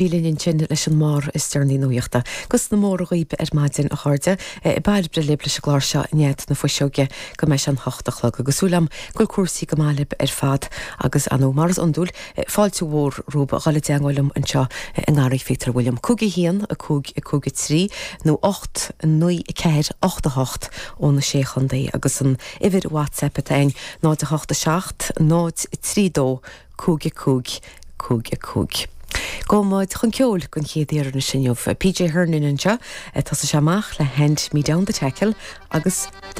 Bhí linn ansin leis an mbarr is deireanaí nuachta. Agus na móra dhaoib ar maidin, a chairde. Bairbre libh leis an gclár seo i ndiaidh na fuiseoige go mbeidh sé an hocht a chlog. Agus súil agam go bhfuil cúrsaí go maith libh ar fad agus ar ndóigh, mar is iondúil, fáilte mhór romhaibh a dhul i dteangmháil liom anseo i nGarraí Phíotair William. 5 1 5 5 3 nó 8 9 4 8 8 ó na Sé Chontae agus an uimhir WhatsApp atá ann 0 8 7 0 3 2 5 5 5 5. Gabhfaidh muid chun ceoil don chéad iarraidh anois inniu. PJ Hernon anseo. Tosóidh sé amach le Hand Me Down the Tackle agus The.